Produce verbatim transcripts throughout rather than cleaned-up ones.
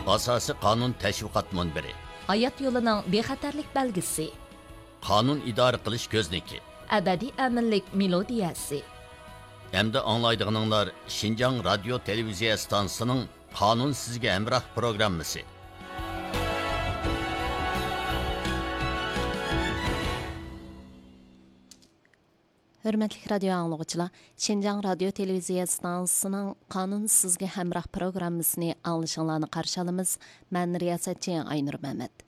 ئاساسىي قانۇن تەشۋىقات مۇنبىرى. ھايات يولىنىڭ بىخەتەرلىك بەلگىسى. قانۇن ئىدارە قىلىش كۆزنىكى. ئەبەدىي ئەمىنلىك مېلودىيەسى. ئەمدى ئاڭلايدىغىنىڭلار شىنجاڭ رادىيو تېلېۋىزىيە ئىستانسىسىنىڭ قانۇن سىزگە ھەمراھ پروگراممىسى. ھۆرمەتلىك رادىيو ئاڭلىغۇچىلار، شىنجاڭ رادىيو تېلېۋىزىيە ئىستانسىسىنىڭ قانۇن سىزگە ھەمراھ پروگراممىسىنى ئاڭلىشىڭلارنى قارشى ئالىمىز. مەن رىياسەتچى ئاينۇر مەمەت.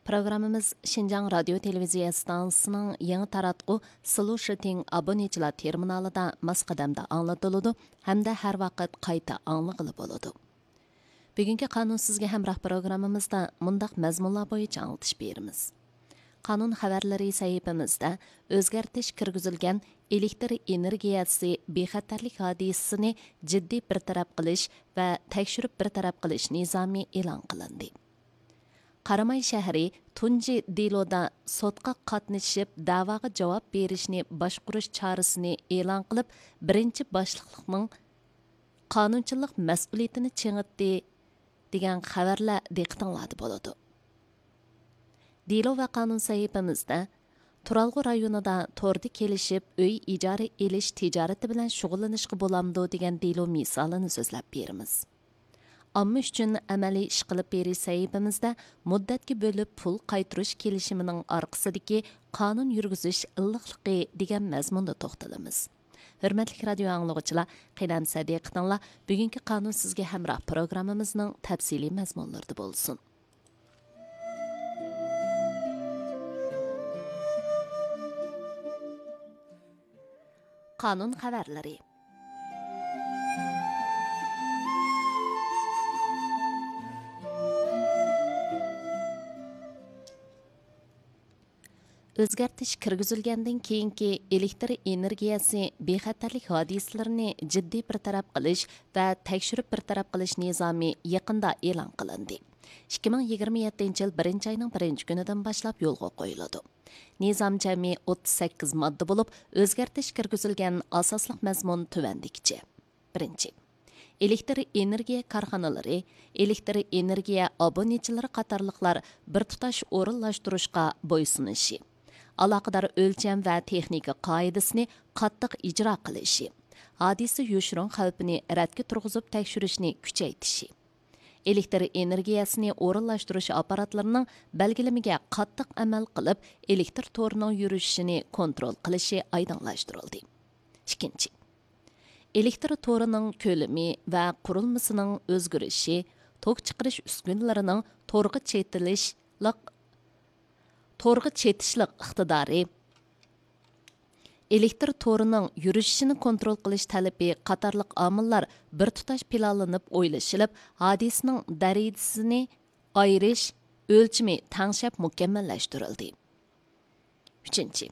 پروگراممىمىز شىنجاڭ رادىيو تېلېۋىزىيە ئىستانسىسىنىڭ يېڭى تاراتقۇ سلۇشىتىڭ ئابونېنتچىلار تېرمىنالىدا ماس قەدەمدە ئاڭلىتىلىدۇ ھەمدە ھەر ۋاقىت قايتا ئاڭلىغىلى بولىدۇ. بۈگۈنكى قانۇن سىزگە ھەمراھ پروگراممىمىزدا مۇنداق مەزمۇنلار بويىچە ئاڭلىتىش بېرىمىز. قانۇن خەۋەرلىرى سەھىپىمىزدە ئۆزگەرتىش كىرگۈزۈلگەن ئېلېكتر ئېنېرگىيەسى بىخەتەرلىك ھادىسىسىنى جىددىي بىر تەرەپ قىلىش ۋە تەكشۈرۈپ بىر تەرەپ قىلىش نىزامى ئېلان قىلىندى. قاراماي شەھىرى تۇنجى دېلودا سوتقا قاتنىشىپ، دەۋاغا جاۋاب بېرىشنى باشقۇرۇش چارىسىنى ئېلان قىلىپ، بىرىنچى باشلىقلىقنىڭ قانۇنچىلىق مەسئۇلىيىتىنى چىڭىتتى، دېگەن خەۋەرلەر دىققىتىڭلاردا بولىدۇ. دېلو ۋە قانۇن سەھىپىمىزدە تۇرالغۇ رايونىدا توردا كېلىشىپ ئۆي ئىجارە ئېلىش تىجارىتى بىلەن شۇغۇللىنىشقا بولامدۇ دېگەن دېلو مىسالىنى سۆزلەپ بېرىمىز. ئامما ئۈچۈن ئەمەلىي ئىش قىلىپ بېرىش سەھىپىمىزدە مۇددەتكە بۆلۈپ پۇل قايتۇرۇش كېلىشىمىنىڭ ئارقىسىدىكى قانۇن يۈرگۈزۈش ئىللىقلىقى دېگەن مەزمۇندا توختىلىمىز. ھۆرمەتلىك رادىيو ئاڭلىغۇچىلار، قېنى ئەمسە دىققىتىڭلار بۈگۈنكى قانۇن سىزگە ھەمراھ پروگراممىمىزنىڭ تەپسىلىي مەزمۇنلىرىدا بولسۇن. قانۇن خەۋەرلىرى. ئۆزگەرتىش كىرگۈزۈلگەندىن كېيىنكى ئېلېكتر ئېنېرگىيەسى بىخەتەرلىك ھادىسىلىرىنى جىددىي بىر تەرەپ قىلىش ۋە تەكشۈرۈپ بىر تەرەپ قىلىش نىزامى يېقىندا ئېلان قىلىندى. ئىككى مىڭ يىگىرمە يەتتىنچى يىل بىرىنچى ئاينىڭ بىرىنچى كۈنىدىن باشلاپ يولغا قويۇلىدۇ. نىزام جەمئىي ئوتتۇز سەككىز ماددا بولۇپ، ئۆزگەرتىش كىرگۈزۈلگەن ئاساسلىق مەزمۇن تۆۋەندىكىچە. بىرىنچى، ئېلېكتر ئېنېرگىيە كارخانىلىرى، ئېلېكتر ئېنېرگىيە ئابونېنتچىلىرى قاتارلىقلار بىر تۇتاش ئورۇنلاشتۇرۇشقا بويسۇنۇشى، ئالاقىدار ئۆلچەم ۋە تېخنىكا قائىدىسىنى قاتتىق ئىجرا قىلىشى، ھادىسە يوشۇرۇن خەۋپىنى رەتكە تۇرغۇزۇپ تەكشۈرۈشنى كۈچەيتىشى، ئېلېكتر ئېنېرگىيەسىنى ئورۇنلاشتۇرۇش ئاپپاراتلىرىنىڭ بەلگىلىمىگە قاتتىق ئەمەل قىلىپ، ئېلېكتر تورىنىڭ يۈرۈشۈشىنى كونترول قىلىشى ئايدىڭلاشتۇرۇلدى. ئىككىنچى، ئېلېكتر تورىنىڭ كۆلىمى ۋە قۇرۇلمىسىنىڭ ئۆزگىرىشى، توك چىقىرىش ئۈسكۈنىلىرىنىڭ تورغا چېتىلىشلىق، تورغا چېتىشلىق ئىقتىدارى، ئېلېكتر تورىنىڭ يۈرۈشۈشىنى كونترول قىلىش تەلىپى قاتارلىق ئامىللار بىر تۇتاش پىلانلىنىپ ئويلىشىلىپ، ھادىسىنىڭ دەرىجىسىنى ئايرىش ئۆلچىمى تەڭشەپ مۇكەممەللەشتۈرۈلدى. ئۈچىنچى،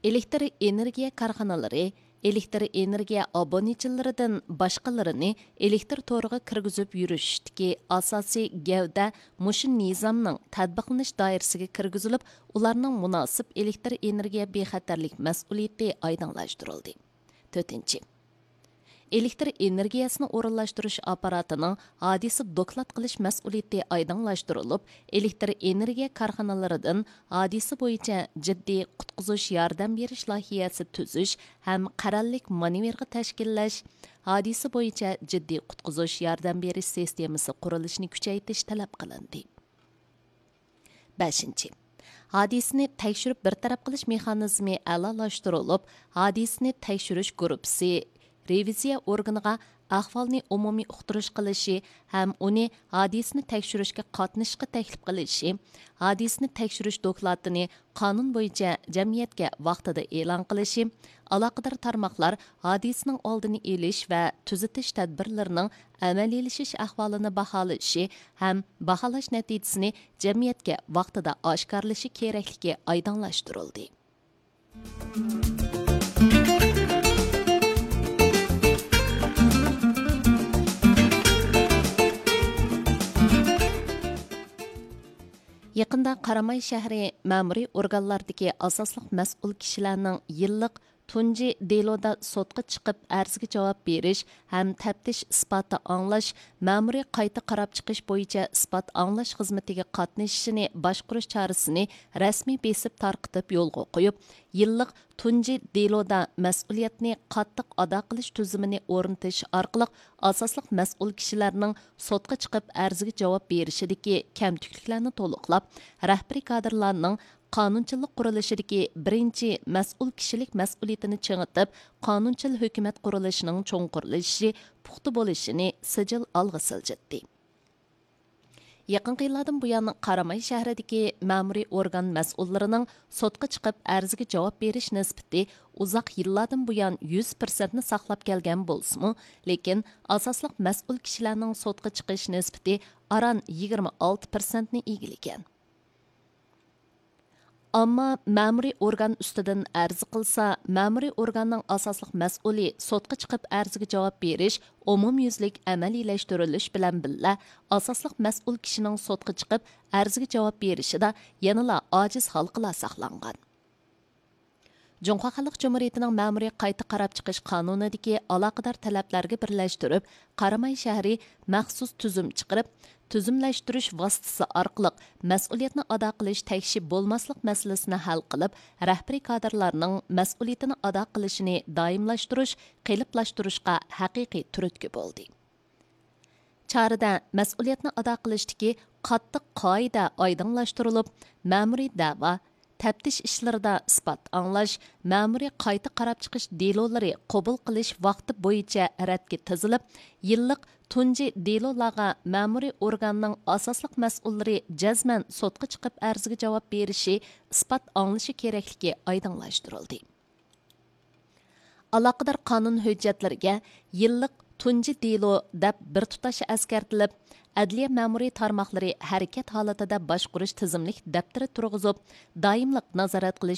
ئېلېكتر ئېنېرگىيە كارخانىلىرى ئېلېكتر ئېنېرگىيە ئابونېنتچىلىرىدىن باشقىلىرىنى ئېلېكتر تورىغا كىرگۈزۈپ يۈرۈشۈشتىكى ئاساسىي گەۋدە مۇشۇ نىزامنىڭ تەتبىقلىنىش دائىرىسىگە كىرگۈزۈلۈپ، ئۇلارنىڭ مۇناسىپ ئېلېكتر ئېنېرگىيە بىخەتەرلىك مەسئۇلىيىتى ئايدىڭلاشتۇرۇلدى. تۆتىنچى، ئېلېكتر ئېنېرگىيەسىنى ئورۇنلاشتۇرۇش ئاپپاراتىنىڭ ھادىسە دوكلات قىلىش مەسئۇلىيىتى ئايدىڭلاشتۇرۇلۇپ، ئېلېكتر ئېنېرگىيە كارخانىلىرىدىن ھادىسە بويىچە جىددىي قۇتقۇزۇش ياردەم بېرىش لايىھەسى تۈزۈش ھەم قەرەللىك مانېۋىرغا تەشكىللەش، ھادىسە بويىچە جىددىي قۇتقۇزۇش ياردەم بېرىش سىستېمىسى قۇرۇلۇشىنى كۈچەيتىش تەلەپ قىلىندى. بەشىنچى، ھادىسىنى تەكشۈرۈپ بىر تەرەپ قىلىش مېخانىزمى ئەلالاشتۇرۇلۇپ، ھادىسىنى تەكشۈرۈش گۇرۇپپىسى رېۋىزىيە ئورگىنىغا ئەھۋالنى ئومۇمىي ئۇقتۇرۇش قىلىشى ھەم ئۇنى ھادىسىنى تەكشۈرۈشكە قاتنىشىشقا تەكلىپ قىلىشى، ھادىسىنى تەكشۈرۈش دوكلاتىنى قانۇن بويىچە جەمئىيەتكە ۋاقتىدا ئېلان قىلىشى، ئالاقىدار تارماقلار ھادىسىنىڭ ئالدىنى ئېلىش ۋە تۈزىتىش تەدبىرلىرىنىڭ ئەمەلىيلىشىش ئەھۋالىنى باھالىشى ھەم باھالاش نەتىجىسىنى جەمئىيەتكە ۋاقتىدا ئاشكارىلىشى كېرەكلىكى ئايدىڭلاشتۇرۇلدى. يېقىندا قاراماي شەھىرى مەمۇرىي ئورگانلاردىكى ئاساسلىق مەسئۇل كىشىلەرنىڭ يىللىق تۇنجى دېلودا سوتقا چىقىپ ئەرزگە جاۋاب بېرىش ھەم تەپتىش ئىسپاتى ئاڭلاش، مەمۇرىي قايتا قاراپ چىقىش بويىچە ئىسپات ئاڭلاش خىزمىتىگە قاتنىشىشىنى باشقۇرۇش چارىسىنى رەسمىي بېسىپ تارقىتىپ يولغا قويۇپ، يىللىق تۇنجى دېلودا مەسئۇلىيەتنى قاتتىق ئادا قىلىش تۈزۈمىنى ئورنىتىش ئارقىلىق ئاساسلىق مەسئۇل كىشىلەرنىڭ سوتقا چىقىپ ئەرزگە جاۋاب بېرىشىدىكى كەمتۈكلۈكلەرنى تولۇقلاپ، رەھبىرىي كادىرلارنىڭ قانۇنچىلىق قۇرۇلۇشىدىكى بىرىنچى مەسئۇل كىشىلىك مەسئۇلىيىتىنى چىڭىتىپ، قانۇنچىل ھۆكۈمەت قۇرۇلۇشىنىڭ چوڭقۇرلىشىشى، پۇختا بولۇشىنى سىجىل ئالغا سىلجىتتى. يېقىنقى يىللاردىن بۇيان، قاراماي شەھىرىدىكى مەمۇرىي ئورگان مەسئۇللىرىنىڭ سوتقا چىقىپ ئەرزگە جاۋاب بېرىش نىسبىتى ئۇزاق يىللاردىن بۇيان يۈز پىرسەنتنى ساقلاپ كەلگەن بولسىمۇ، لېكىن ئاساسلىق مەسئۇل كىشىلەرنىڭ سوتقا چىقىش نىسبىتى ئاران يىگىرمە ئالتە پىرسەنتنى ئىگىلىگەن. ئامما مەمۇرىي ئورگان ئۈستىدىن ئەرز قىلسا، مەمۇرىي ئورگاننىڭ ئاساسلىق مەسئۇلى سوتقا چىقىپ ئەرزگە جاۋاب بېرىش ئومۇميۈزلۈك ئەمەلىيلەشتۈرۈلۈش بىلەن بىللە، ئاساسلىق مەسئۇل كىشىنىڭ سوتقا چىقىپ ئەرزگە جاۋاب بېرىشىدا يەنىلا ئاجىز ھالقىلار ساقلانغان. جۇڭخۇا خەلق جۇمھۇرىيىتىنىڭ مەمۇرىي قايتا قاراپ چىقىش قانۇنىدىكى ئالاقىدار تەلەپلەرگە بىرلەشتۈرۈپ، قاراماي شەھىرى مەخسۇس تۈزۈم چىقىرىپ، تۈزۈملەشتۈرۈش ۋاسىتىسى ئارقىلىق مەسئۇلىيەتنى ئادا قىلىش تەكشى بولماسلىق مەسىلىسىنى ھەل قىلىپ، رەھبىرىي كادىرلارنىڭ مەسئۇلىيىتىنى ئادا قىلىشىنى دائىملاشتۇرۇش، قېلىپلاشتۇرۇشقا ھەقىقىي تۈرتكە بولدى. چارىدە مەسئۇلىيەتنى ئادا قىلىشتىكى قاتتىق قائىدە ئايدىڭلاشتۇرۇلۇپ، مەمۇرىي دەۋا، تەپتىش ئىشلىرىدا ئىسپات ئاڭلاش، مەمۇرىي قايتا قاراپ چىقىش دېلولىرى قوبۇل قىلىش ۋاقتى بويىچە رەتكە تىزىلىپ، يىللىق تۇنجى دېلولارغا مەمۇرىي ئورگاننىڭ ئاساسلىق مەسئۇللىرى جەزمەن سوتقا چىقىپ ئەرزگە جاۋاب بېرىشى، ئىسپات ئاڭلىشى كېرەكلىكى ئايدىڭلاشتۇرۇلدى. ئالاقىدار قانۇن ھۆججەتلىرىگە يىللىق تۇنجى دېلو دەپ بىر تۇتاش ئەسكەرتىلىپ، ئەدلىيە مەمۇرىي تارماقلىرى ھەرىكەت ھالىتىدە باشقۇرۇش تىزىملىك دەپتىرى تۇرغۇزۇپ، دائىملىق نازارەت قىلىش